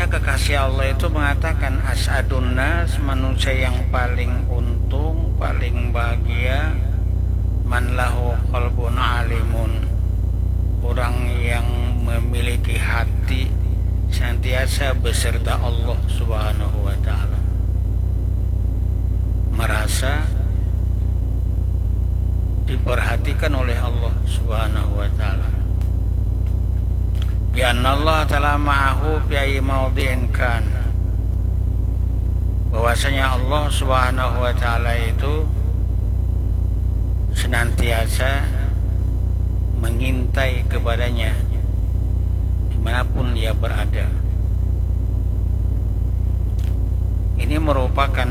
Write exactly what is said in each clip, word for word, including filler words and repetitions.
Kekasih Allah itu mengatakan, "As'adun nas, manusia yang paling untung, paling bahagia, man lahu qalbun alimun." Orang yang memiliki hati senantiasa beserta Allah Subhanahu wa Ta'ala, merasa diperhatikan oleh Allah Subhanahu wa Ta'ala. Bi anna Allah Ta'ala ma'ahu fi ayyi mawdi'in kan. Bahwasanya Allah Subhanahu wa Ta'ala itu senantiasa mengintai kepadanya dimanapun dia berada. Ini merupakan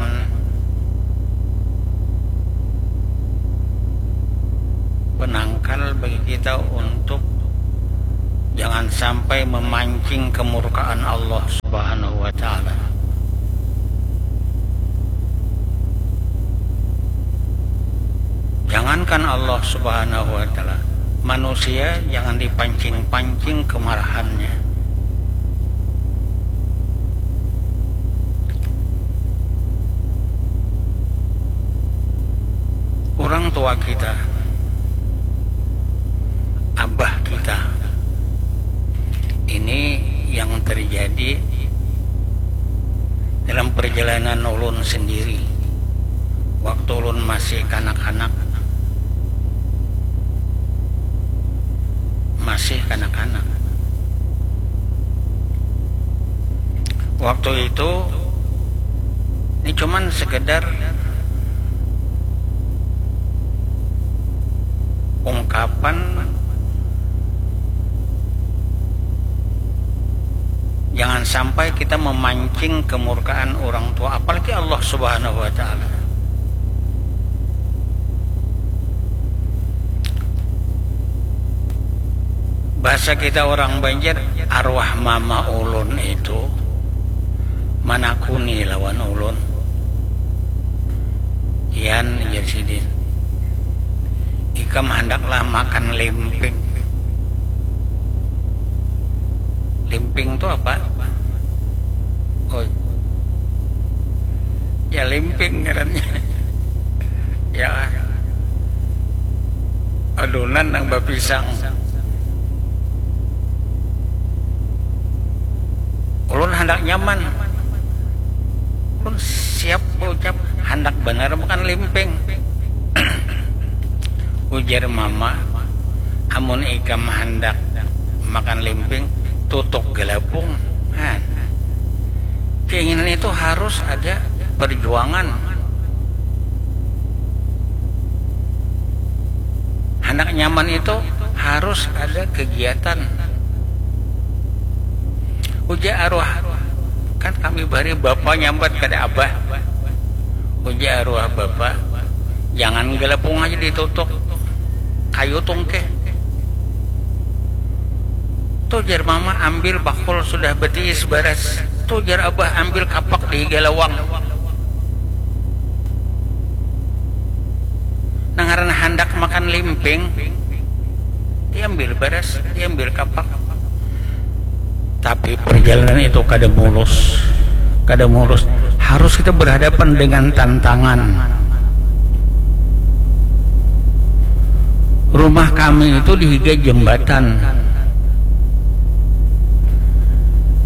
penangkal bagi kita untuk jangan sampai memancing kemurkaan Allah Subhanahu wa Ta'ala. Jangankan Allah Subhanahu wa Ta'ala, manusia jangan dipancing-pancing kemarahannya. Orang tua kita, abah kita, ini yang terjadi dalam perjalanan ulun sendiri. Waktu ulun masih kanak-kanak, masih kanak-kanak. Waktu itu, ini cuman sekedar ungkapan, jangan sampai kita memancing kemurkaan orang tua, apalagi Allah Subhanahu wa Ta'ala. Bahasa kita orang Banjar, arwah mama ulun itu manakuni lawan ulun. "Yan," jar sidin, "ikam handaklah makan limping." Limping tu apa? Oh, ya, limping ngarannya. Ya, adonan nang bapisang. Ulun handak nyaman. Ulun siap baucap, handak banar makan limping. Ujar mama, "Amun ikam handak makan limping, tutuk galapung." Han. Keinginan itu harus ada perjuangan. Handak nyaman itu harus ada kegiatan. Ujar arwah, kan kami bari bapa nyambat kada abah. Ujar arwah bapa, "Jangan galapung aja ditutuk, kayu tungkeh." Tuh, jar mama, ambil bakul sudah betiis baras. Tuh, jar abah, ambil kapak di galawang. Nang ngaran handak makan limping, diambil baras, diambil kapak. Tapi perjalanan itu kada mulus, kada mulus. Harus kita berhadapan dengan tantangan. Rumah kami itu di higa jembatan.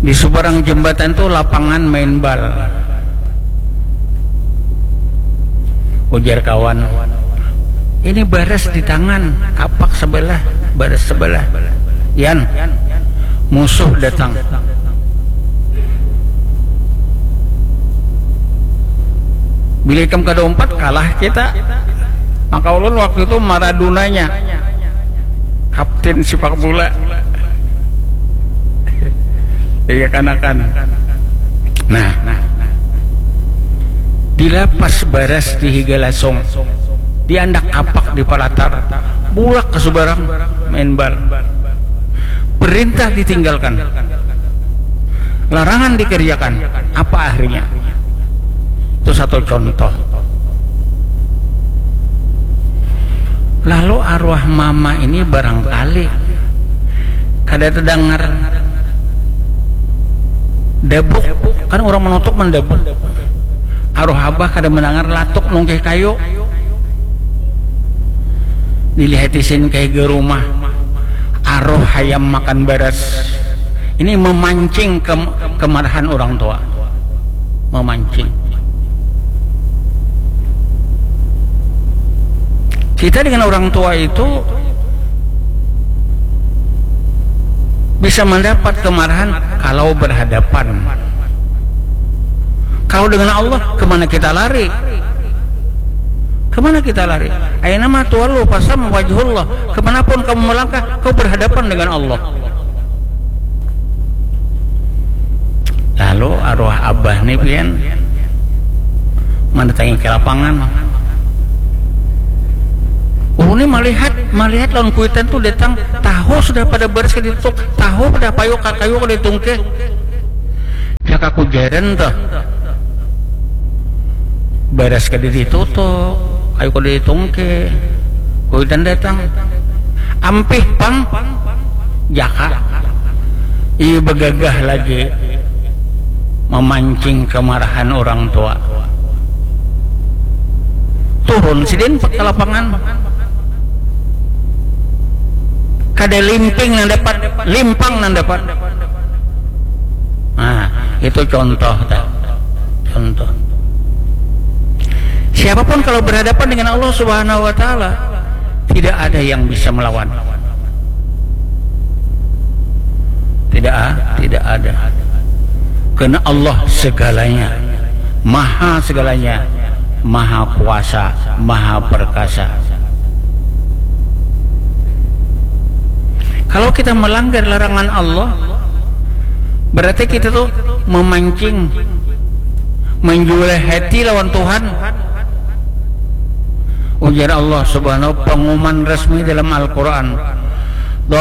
Di seberang jembatan tuh lapangan main bal. Ujar kawan, "Ini baras di tangan, kapak sebelah, baras sebelah." Yan, musuh datang. Bila ikam kada umpat, kalah kita. Maka ulun waktu itu Maradonanya, kapten sepak bola. Iya, kanakan. Nah, dilapas baras di higa lasung, diandak kapak di palatar, bulak ka subarang main bal. Perintah ditinggalkan, larangan dikerjakan. Apa akhirnya? Itu satu contoh. Lalu arwah mama ini barangkali kada terdengar, Dabuk, kan urang manutuk mandabuk. Aruh abah kada mandangar latuk nungkih kayu. Dilihat isin kayak ke rumah. Aruh hayam makan baras. Ini memancing ke, kemarahan orang tua. Memancing. Kita dengan orang tua itu bisa mendapat kemarahan kalau berhadapan. Kalau dengan Allah, kemana kita lari? Kemana kita lari? Aina ma tuwallu fasam wajhullah. Kemanapun kamu melangkah, kau berhadapan dengan Allah. Lalu arwah abah nih pian mendatangi ke lapangan. Oh, ini melihat, melihat lawan kuitan tuh datang, tahu sudah pada beres ke dituk, tahu pada payu kayu ke ditungke. Jaka kujaran tuh. Beres ke ditutuk, kayu ke ditungke. Kuitan datang. Ampih pang jaka. Iya begagah lagi memancing kemarahan orang tua. Turun sidin ke lapangan. Kada limping nang dapat, limpang nang dapat. Nah, itu contoh, tak? Contoh. Siapapun kalau berhadapan dengan Allah Subhanahu wa Ta'ala, tidak ada yang bisa melawan. Tidak, tidak ada. Karena Allah segalanya, maha segalanya, maha kuasa, maha perkasa. Kalau kita melanggar larangan Allah, berarti kita tuh memancing, menjual hati lawan Tuhan. Ujar Allah Subhanahu, pengumuman resmi dalam Al-Quran,